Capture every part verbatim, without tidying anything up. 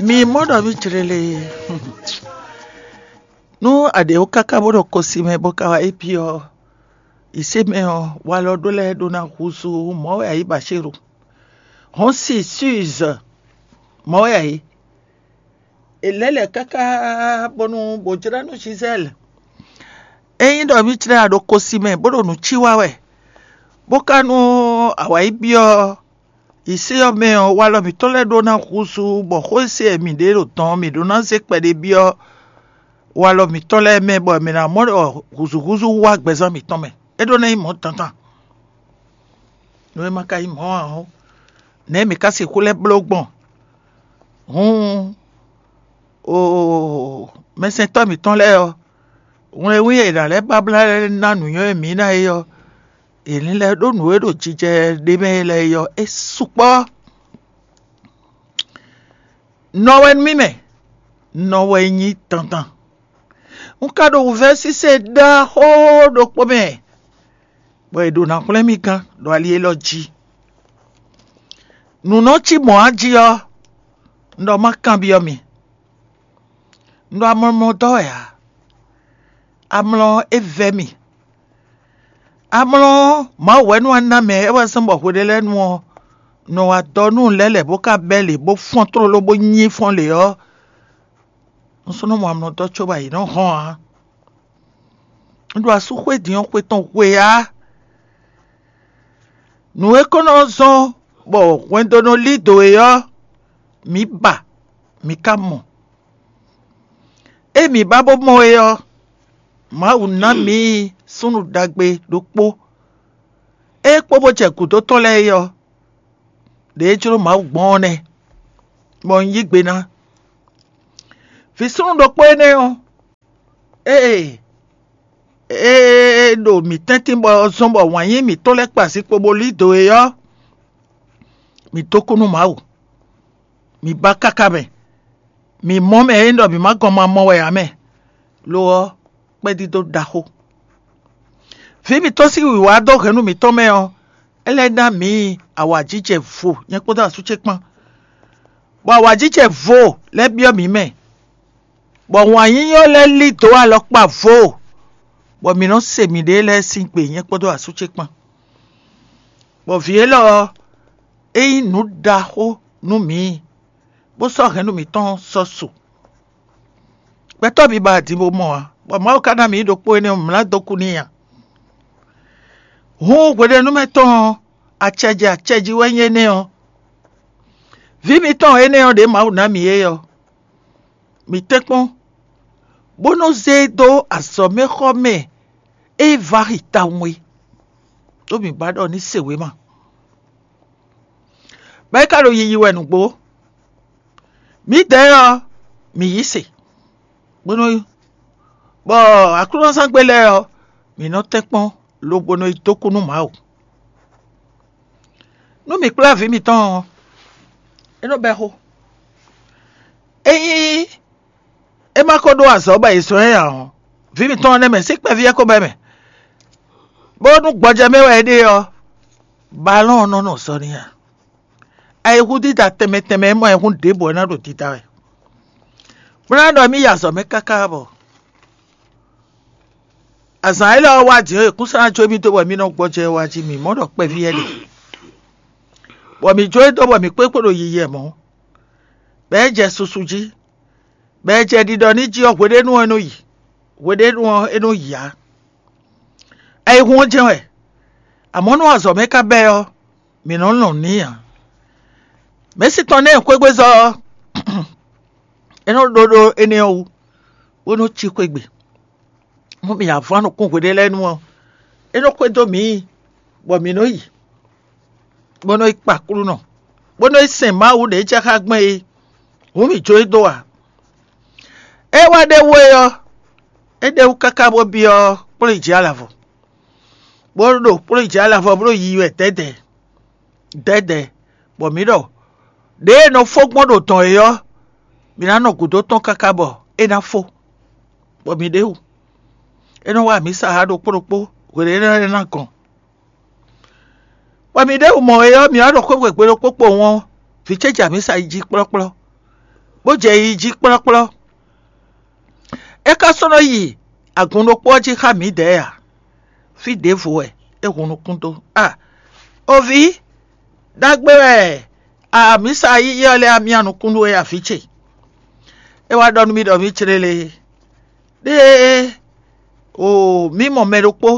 Mi mɔ ɖɔ mì jlele. Nú a ɖě wú káká bó ɖo kosi mɛ bó ka wá yi byɔ́ yisé mɛ ɔ́, walɔ ɖó lɛ́ɛ ɖó ná húzú mɔ̌ wɛ a yǐ Bashíru. Hɔn si Suze mɔ̌ wɛ a yǐ. È lɛ́ lɛ̌ káká bónú bó jlá nú Gisèle. Ényí ɖɔ mì jlɛ́ a ɖo kosi mɛ bó ɖo nǔ cí wa wɛ, bó ka nú a wǎ yi byɔ́ yisé ɔ́ mɛ ɔ́, walɔ mǐtɔn lɛ́ɛ ɖó ná húzú, bɔ xó e se wɛ mǐ ɖe ɖo dɔn ɔ́, mǐ ɖó ná zé kpɛɖé byɔ́ walɔ mǐtɔn lɛ́ɛ mɛ, bɔ mǐ ná mɔ ɖɔ húzúhúzú wá gbɛzán mǐtɔn mɛ. É ɖó ná nyí mɔ̌ dandan. Nú é ma ka nyí mɔ̌ ǎ ɔ́, nɛ̌ mǐ ka sixú lɛ́ bló gbɔn? Hǔn, oo, mɛsɛntɔ́ mǐtɔn lɛ́ɛ ɔ́, wlɛ́nwí e è nǎ lɛ́ ba blá lɛ́ɛ ná nǔnywɛ́ e mǐ ná é ɔ́, è ní lɛ́ ɖó nǔ e ɖo jijɛ ɖé mɛ é lɛ́ɛ é ɔ́, é sukpɔ́. Nɔ wɛ nú mì mɛ, nɔ wɛ nyí dandan. Un ka ɖo wǔvɛ́ sise ɖaxó ɖokpó mɛ, bɔ è ɖo ná hwlɛ́n mì gán ɖo ali élɔ́ jí. Nǔ nɔ cí mɔ̌ a jí ɔ́, un ɖɔ má kanbyɔ́ mi. Un ɖo amlɔmlɔ dɔ́ wɛ ǎ. Amlɔ ɔ́, é vɛ́ mì. Amlɔ ɔ́, Mawu wɛ nú a ná mɛ é wɛ zɔ́n bɔ hweɖélɛ́nu ɔ́ nɔ wa dɔ nú lɛ́ lɛ̌ bó ka bɛ́ lě bó fɔ́n tlóló bó nyí fɔ́n lě ɔ́, un sɔ́ nɔ mɔ amlɔ dɔ́ cóbɔ ayǐ nɔ hɔn ǎ. Un ɖo asú xwé din ɔ́ xwe tɔn hwe ǎ. Nǔ e ko nɔ zɔ́n bɔ hwɛndo nɔ lí dǒ é ɔ́, mǐ ba, mǐ ka mɔ. Ée mǐ ba bó mɔ é ɔ́, Mawu ná mǐ súnnu ɖagbe ɖokpó. Ée kpó bó jɛ gǔdo tɔn lɛ́ɛ é ɔ́, ɖě e jló Mawu gbɔn ɔ́ nɛ́, bɔ un yí gbe ná. Vǐ súnnu ɖokpó énɛ́ ɔ́, ée é ɖo mǐ tɛ́ntin bɔ zɔ́n bɔ wǎn yí mǐtɔn lɛ́ɛ kpa zinkpo bó lí dǒ é ɔ́, mǐ dó kú nú Mawu. Mǐ ba káká mɛ. Mǐ mɔ mɛ e nyí ɖɔ mǐ ma gɔn ma mɔ wɛ ǎ mɛ. Lo ɔ́, kpɛ́dídó ɖaxó. Vǐ mǐtɔn sín wǐwá dó hɛ̌nnu mǐtɔn mɛ ɔ́, é lɛ́ ná mǐ awǎjijɛ vo, nyɛ kpódó asú ce kpán, bɔ awǎjijɛ vo lɛ́ byɔ́ mǐ mɛ, bɔ wǎn yíyí ɔ́ lɛ́ lí dǒ alɔkpa vo, bɔ mǐ nɔ́ se mǐɖée lɛ́ɛ sín gbe, nyɛ kpódó asú ce kpán. Bɔ vǐ élɔ́ ɔ́, é nyí nǔ ɖaxó nú mǐ, bó sɔ́ hɛ̌nnu mǐtɔn sɔ́ su. Gbɛtɔ́ bǐ ba din bó mɔ ǎ, bɔ Mawu ka ná mǐ ɖokpó énɛ́ ɔ́ mlá dó kú n'i ǎ. Hǔn hweɖénúmɛ tɔn ɔ́, acɛ jɛ acɛ jí wɛ nyí énɛ́ ɔ́. Vǐ mitɔn énɛ́ ɔ́ ɖě Mawu ná mǐ é ɔ́, mǐ tɛ́nkpɔ́n, bó nɔ́ zé e dó azɔ̌mɛxɔ mɛ e vǎ xi tawun é, ɖó mǐ ba ɖɔ ní se wěma. Bɔ é ka ɖo yiyi wɛ nǔgbó. Mǐdɛɛ ɔ́, mǐ yí se, bó nɔ́ bɔ aklúnɔzángbe lɛ́ɛ ɔ́, mǐ nɔ tɛ́nkpɔ́n lobo nɔ yi dó kú nú Mawu. Nú mǐ kplá vǐ mitɔn ɔ́, é nɔ bɛ́ xó. Ényí é ma ko ɖó azɔ̌ bɔ è zɔ́n ɛ ǎ ɔ́, vǐ mitɔn ɔ́ nɛ́ mɛ sín kpɛví ɔ́ ko bɛ́ mɛ, bónú gbɔjɛ́ mɛ wɛ é ɖe ɔ́, balɔ́n ɔ́ nɔ nɔ zɔ n'i ǎ. Ayǐhúndída tɛnmɛ tɛnmɛ e mɔ ayǐhún ɖěbǔ ɔ́ ná ɖo dida wɛ. Bó ná ɖɔ émí yi azɔ̌ mɛ káká bɔ azǎn élɔ́ ɔ́ wá din ɔ́, è kún sɔ́ ná jó émí dó bɔ émí nɔ gbɔjɛ́ wá jí mǐ mɔ ɖɔ kpɛví wɛ ɖe, bɔ mǐ jó e dó bɔ mǐ kpékpé ɖo yiyi wɛ mɔ̌, bɔ é jɛ susu jí, bɔ é jɛ ɖiɖɔ ní jí ɔ́, hweɖénu ɔ́ é nɔ yi, hweɖénu ɔ́ é nɔ yi ǎ. Ayǐhún ɔ́ jɛ́n wɛ, amɔ̌ nú azɔ̌ mɛ ka bɛ́ ɔ́, mǐ nɔ́ lɔn n'i ǎ. Mɛ̌si tɔn nɛ́ xwégbezɔ́ ɔ́, é nɔ ɖó ɖó énɛ́ ɔ́ wú, bó nɔ́ cí xwé gbe. Nú mǐ ya vɔ́n nukún hweɖé lɛ́ɛ nu ɔ́, é nɔ xwedó mǐ, bɔ mǐ nɔ yi, bó nɔ yi kpa Aklúnɔ, bó nɔ yi sɛn Mawu ɖě jɛ xá gbɛn é. Hǔn mǐ jó e dó ǎ. É wá ɖ'é wú é ɔ́, é ɖ'é wú káká bó byɔ́ kplɔ́nyijǐ-alavɔ, bó ɖo kplɔ́nyijǐ-alavɔ bó ɖo yiyi wɛ dɛ̌dɛ̌ dɛ̌dɛ̌, bɔ mǐ ɖɔ ɖěe è nɔ fó gbɔn ɖo dɔ̌n é ɔ́, mǐ ná nɔ gǔdo tɔn káká bɔ é ná fó, bɔ mǐ ɖ'é wú. É nɔ wá amǐsa ɖokpó ɖokpó hweɖéɖéɖé ná gɔn. Bɔ mǐ ɖ'é wú mɔ̌ é ɔ́, mǐ wá ɖo xwé gbe ɖokpó kpowun ɔ́, vǐ ce jɛ amǐsa yi jí kplɔ́kplɔ́. bó jɛ yi jí kplɔ́kplɔ́. É ka sɔ́ nɔ yi agun ɖokpó ɔ́ jí xá mǐdɛɛ ǎ. Fí ɖěvo wɛ é hun nukún dó. A o vǐ, ɖagbe wɛ amǐsa yíyí ɔ́ lɛ́ɛ amyá nukún nú we a vǐ ce. É wá ɖɔ nú mì ɖɔ mǐ clé lé. Ɖée o mǐ mɔ mɛ ɖokpó,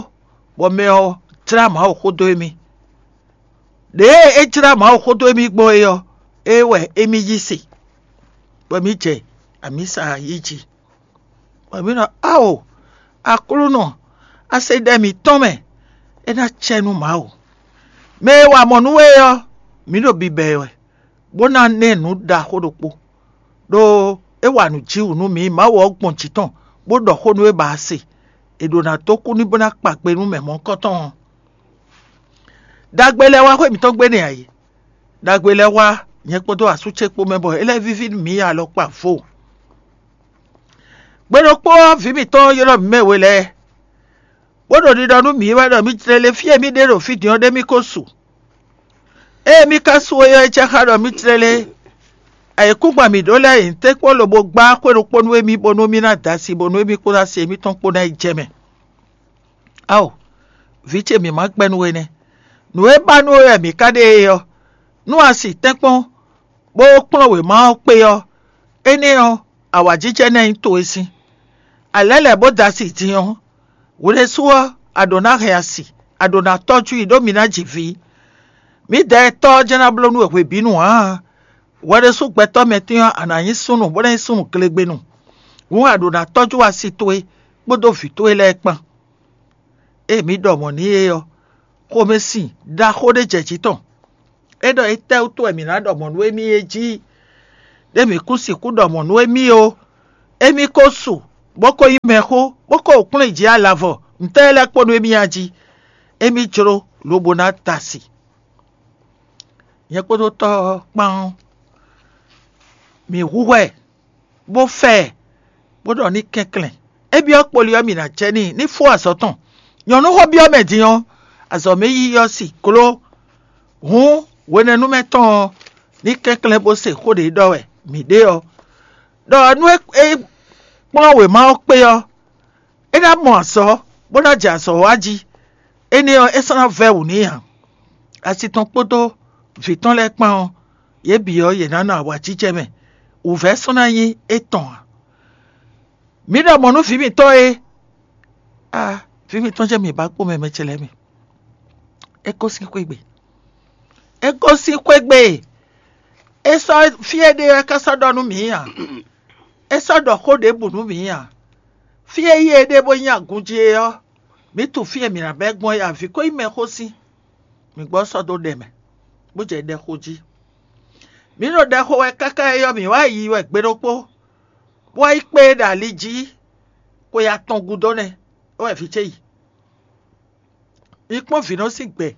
bɔ mɛ ɔ́ jlá Mawu xó dó émí. Ɖěe é jlá Mawu xó dó émí gbɔn é ɔ́, é wɛ émí yí se, bɔ mǐ jɛ amǐsa yí jí. Bɔ mǐ ɖɔ: Ao, Aklúnɔ, a se ɖɛ mǐtɔn mɛ, é ná cɛ nú Mawu. Mɛ e wa mɔ nú we ɔ́, mǐ ɖo bibɛ ɛ wɛ, bó ná ná ɛ nǔ ɖaxó ɖokpó, ɖó é wa nǔ jǐwǔ nú mǐ. Mawu ɔ́ gbɔn jǐ tɔn, bó ɖɔ xó nú é ba a se. È ɖǒ ná dó kú ní bó ná kpa gbe nú mɛ mɔ̌hunkɔtɔn ɔ́. Ɖagbe lɛ́ɛ wá xwé mǐtɔn gbe nɛ́ ǎ é. Ɖagbe lɛ́ɛ wá nyɛ kpódó asú ce kpó mɛ, bɔ é lɛ́ víví nú mǐ alɔkpa vo. Gbe ɖokpó ɔ́, vǐ mǐtɔn ylɔ́ mǐ mɛ we lɛ́ɛ, bó ɖo ɖiɖɔ nú mǐ wɛ ɖɔ mǐ jlɛ́ lé fí e mǐ ɖe ɖo fí din ɔ́ ɖé mì ko su. Ée mì ka su é ɔ́, é jɛ xá ɖɔ mǐ jlɛ́ lé ayǐkúngban mǐ ɖó lɛ́ɛ nyi tɛ́nkpɔ́n lobo gbá xwé ɖokpó nú émí, bónú mì ná da asi, bónú émí kpódó asi émítɔn kpó ná yi jɛ mɛ. Ao, vǐ ce mǐ ma gbɛ́ nú we nɛ́. Nǔ e ba nú we wɛ mǐ ka ɖe é ɔ́, nú a si tɛ́nkpɔ́n, bó kplɔ́n wěma ɔ́ kpé ɔ́, énɛ́ ɔ́, awǎjijɛ ná nyí towe sín. A lɛ́ lɛ̌ bó da asi din ɔ́, hwe ɖésú ɔ́, a ɖǒ ná hɛn asi, a ɖǒ ná tɔ́jú i ɖó mi ná ji vǐ. Mǐdɛɛ Tɔ́ ɔ́ jɛ́n ná bló nú we hwebǐnu ǎ. Hwɛ ɖésú gbɛtɔ́ mɛtɛn ɔ́, a nǎ nyí súnnu, bó ná nyí súnnu glegbenu. Hǔn a ɖǒ ná tɔ́jú asi towe kpódó vǐ towe lɛ́ɛ kpán. Ée mǐ ɖɔ mɔ̌ n'i é ɔ́, xomɛsin ɖaxó ɖé jɛ jǐ tɔn. É ɖɔ étɛ́wútu wɛ mǐ ná ɖɔ mɔ̌ nú émí é jí? Ɖé mǐ kún sixú ɖɔ mɔ̌ nú émí ó. Émí ko su, bó ko nyí mɛxó, bó ko kplɔ́n yi jǐ alavɔ, ntɛ́ lɛ́ kpo nú émí a jí? Émí jló lobo ná da asi. Nyɛ kpódó Tɔ́ ɔ́ kpán ɔ́, mǐ hu hwɛ, bó fɛ ɛ, bó ɖɔ ní kɛnklɛ́n. É byɔ́ kpoli ɔ́, mǐ ná jɛ n'i ní fó azɔ̌ tɔn. Nyɔ̌nu xó byɔ́ mɛ din ɔ́, azɔ̌ mɛ yiyi ɔ́ si gló. Hǔn hwenɛ́númɛ tɔn ɔ́, ní kɛnklɛ́n bó se xó ɖě ɖɔ wɛ mǐ ɖe ɔ́, ɖɔ nú é kplɔ́n wěma ɔ́ kpé ɔ́, é ná mɔ azɔ̌, bó ná jɛ azɔ̌ wa jí. Énɛ́ ɔ́, é sɔ́ ná vɛ́ wǔ n'i ǎ. Asi tɔn kpódó vǐ tɔn lɛ́ɛ kpán ɔ́, yě bǐ ɔ́, yě ná nɔ awǎjijɛ mɛ. Wǔvɛ́ sɔ́ ná nyí étɔn ǎ. Mǐ ɖɔ mɔ̌ nú vǐ mǐtɔn e, a vǐ mǐtɔn jɛ́n mǐ ba kpó mɛ mɛ ce lɛ́ɛ mi. É gosín xwé gbe. É gosín xwé gbe. É sɔ́ fí e ɖe ɔ́, é ka sɔ́ ɖɔ nú mǐ ǎ. É sɔ́ ɖɔ xó ɖěbǔ nú mǐ ǎ. Fí e yí e ɖe bó nyí agun jí é ɔ́, mǐ tunwun fí e mǐ ná bɛ́ gbɔn é ǎ. Vǐ ko nyí mɛxó sín. Mǐ gbɔ sɔ́ dó ɖɛ mɛ, bó jɛ ɖɛ xo jí. Mǐ ɖo ɖɛ xo wɛ káká é ɔ́, mǐ wá yi wɛ gbe ɖokpó, bó wá yi kpé e ɖo ali jí xwe atɔn gúdo nɛ́, é wɛ vǐ ce yi. Mi kpɔ́n vǐ nɔ sín gbɛ,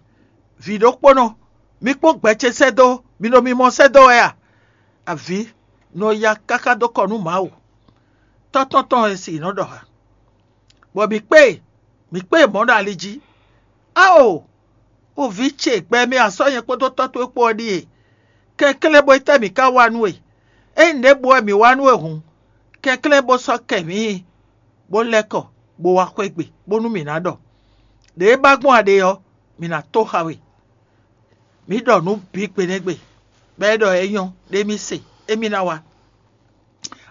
vǐ ɖokpónɔ, mi kpɔ́n gbɛ ce sɛ́ dó, mi ɖo mimɔ sɛ́ dó wɛ a? Avǐ nɔ ya káká dó kɔ nú Mawu. Tɔ́ tɔn tɔn e si nɔ ɖɔ ha, bɔ mǐ kpé e, mǐ kpé e mɔ̌ ɖo ali jí. Ao! O vǐ ce, gbɛ e mɛ a sɔ́ nyɛ kpódó tɔ́ towe kpó ɔ́ ɖíe. Kɛnklɛ́n bó yi tɛ́ mǐ ka wa nú we? Ényí nǔɖěbǔ wɛ mǐ wa nú we hǔn, kɛnklɛ́n bó sɔ́ kɛ mǐ yi, bó lɛ́ kɔ, bó wá xwé gbe, bónú mǐ ná ɖɔ. Ɖě e ba gbɔn a ɖe ɔ́, mǐ ná tó xa we. Mǐ ɖɔ nǔ bǐ gbe nɛ́ gbe, bɔ é ɖɔ é nyɔ́, ɖé mì se, émí ná wá.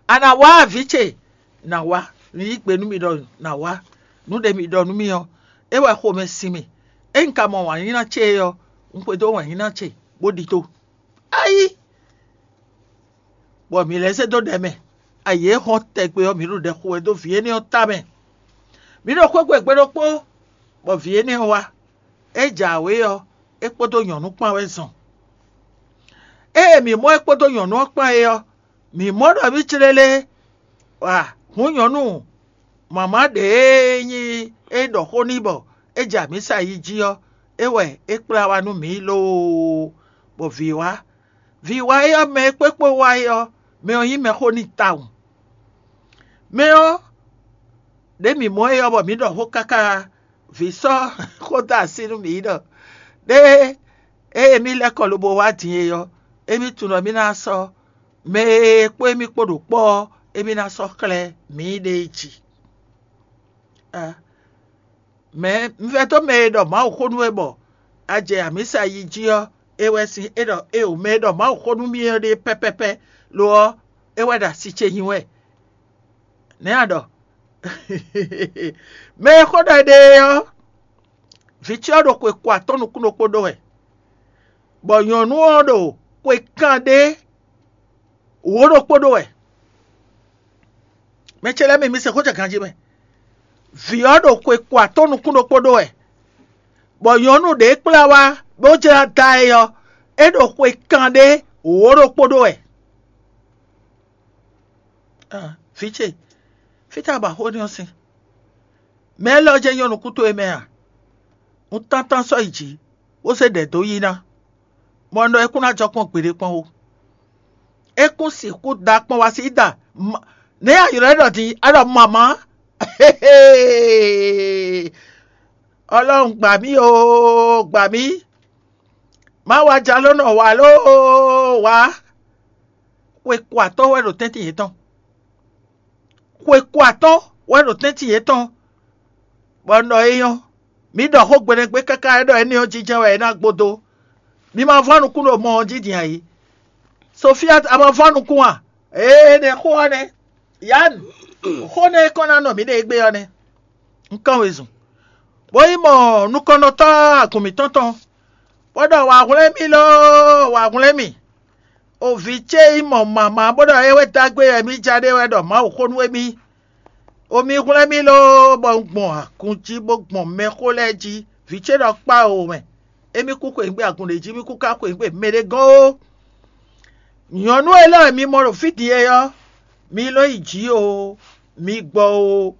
A nǎ wá a vǐ ce? Nǎ wá. Nǔ yí gbe nú mi ɖɔ nǎ wá. Nǔ ɖe mi ɖɔ nú mì ɔ́, é wɛ xomɛ sin mì. Ényí un ka mɔ wǎnyíná ce é ɔ́, un xwedó wǎnyíná ce, bó ɖidó. Ayí! Bɔ mǐ lɛ́ zé dó ɖɛ mɛ. Ayǐ e hɔn tɛgbɛ ɔ́, mǐ ɖo ɖɛ xo wɛ dó vǐ énɛ́ ɔ́ tamɛ. Mǐ ɖo xwé gbe gbe ɖokpó, bɔ vǐ énɛ́ ɔ́ wá. É jɛ awě ɔ́, é kpódó nyɔ̌nu kpán wɛ zɔn. Ée mǐ mɔ é kpódó nyɔ̌nu ɔ́ kpán é ɔ́, mǐ mɔ ɖɔ mǐ clélé. Wa hǔn nyɔ̌nu mama ɖě e nyí é ɖɔ xó n'i bɔ é jɛ amǐsa yi jí ɔ́, é wɛ é kplá wá nú mǐ loo, bɔ vǐ wá. Vǐ wá é ɔ́, mɛ e kpékpé wá é ɔ́, mɛ ɔ́ nyí mɛxó n'i tawun. Mɛ ɔ́, ɖě mǐ mɔ é ɔ́, bɔ mǐ ɖɔ xó káká, vǐ sɔ́ xó dó así nú mǐ ɖɔ ɖěe ée mì lɛ́ kɔ lobo wá din é ɔ́, émí tunwun ɖɔ mì ná sɔ́ Mɛ e kpó émí kpó ɖo kpɔ́ ɔ́, émí ná sɔ́ xlɛ́ mǐɖée jí. Mɛ un vɛdó mɛ e ɖɔ Mawuxó nú we bɔ a jɛ amǐsa yi jí ɔ́, é wɛ sín é ɖɔ éeǒ, mɛ e ɖɔ Mawuxó nú mì ɔ́ ɖe pɛ́pɛ́pɛ́; lo ɔ́, é wɛ ɖo asi ce nyi wɛ. Nɛ̌ a ɖɔ? Mɛ e xó ɖɔ é ɖe é ɔ́, vǐ ce ɔ́ ɖo xwe ko atɔ́ɔ́n nukún ɖokpó ɖó wɛ, bɔ nyɔ̌nu ɔ́ ɖo xwe kanɖé wǒ ɖokpó ɖó wɛ. Mɛ ce lɛ́ɛ mi, mi se xó jɛ ganjí mɛ. Vǐ ɔ́ ɖo xwe ko atɔ́ɔ́n nukún ɖokpó ɖó wɛ, bɔ nyɔ̌nu ɖě kplá wá bó jlá da ɛ ɔ́, é ɖo xwe kanɖé wǒ ɖokpó ɖó wɛ. Vǐ ce, fítɛ́ a ba xó énɛ́ ɔ́ sín? Mɛ élɔ́ jɛ́n nyɔ́ nukún towe mɛ a? Un tántán sɔ́ yi jǐ, bó zé ɖɛ̌ dó yí ná, bɔ un ɖɔ é kún ná jɔ kpɔ́n gbeɖé kpɔ́n ó. É kún sixú da kpɔ́n wá sí da. Nɛ̌ a ylɔ́ ɛ ɖɔ din? A ɖɔ mamǎ? Ɔlɔrun gbà mí oo, gbà mí. Má wá jaló nɔ wǎ lóoo wǎ. Xwe ko atɔ́ɔ́n wɛ ɖo tɛ́ntin yětɔn. Xwe ko atɔ́ɔ́n wɛ ɖo tɛ́ntin yětɔn, bɔ un ɖɔ é nyɔ́. Mǐ ɖɔ xó gbeɖégbé káká é ɖɔ énɛ́ ɔ́ jínjɛ́n wɛ é ná gbódó. Mi ma vɔ́ nukún ɖo mɔ ɔ́ jí din ǎ é. Sofia, a ma vɔ́ nukún a? Ee, nɛ̌ xó ɔ́ nɛ́. Yan, xó nɛ́ e kɔn ná nɔ mǐ ɖe égbé ɔ́ nɛ́. Un kán wezun, bó yi mɔ nukɔnnɔtɔ́ agun mǐtɔn tɔn, bó ɖɔ: Wǎ hwlɛ́n mì loo, wǎ hwlɛ́n mì. O vǐ ce yi mɔ mama bó ɖɔ é wɛ dó agbe wɛ mì ja ɖe wɛ ɖɔ Mawu xó nú émí. O mi hwlɛ́n mì loo, bɔ un gbɔn agun jí bó gbɔn mɛxó lɛ́ɛ jí. Vǐ ce ɖɔ kpá o mɛ. Émí kú xweyǐgbe agun ɖě jí, mì kú ka xweyǐgbe mɛɖé gɔ́n ó. Nyɔ̌nu élɔ́ e mi mɔ ɖo fí din é ɔ́, mi lɔ́ yi jǐ o, mi gbɔ o,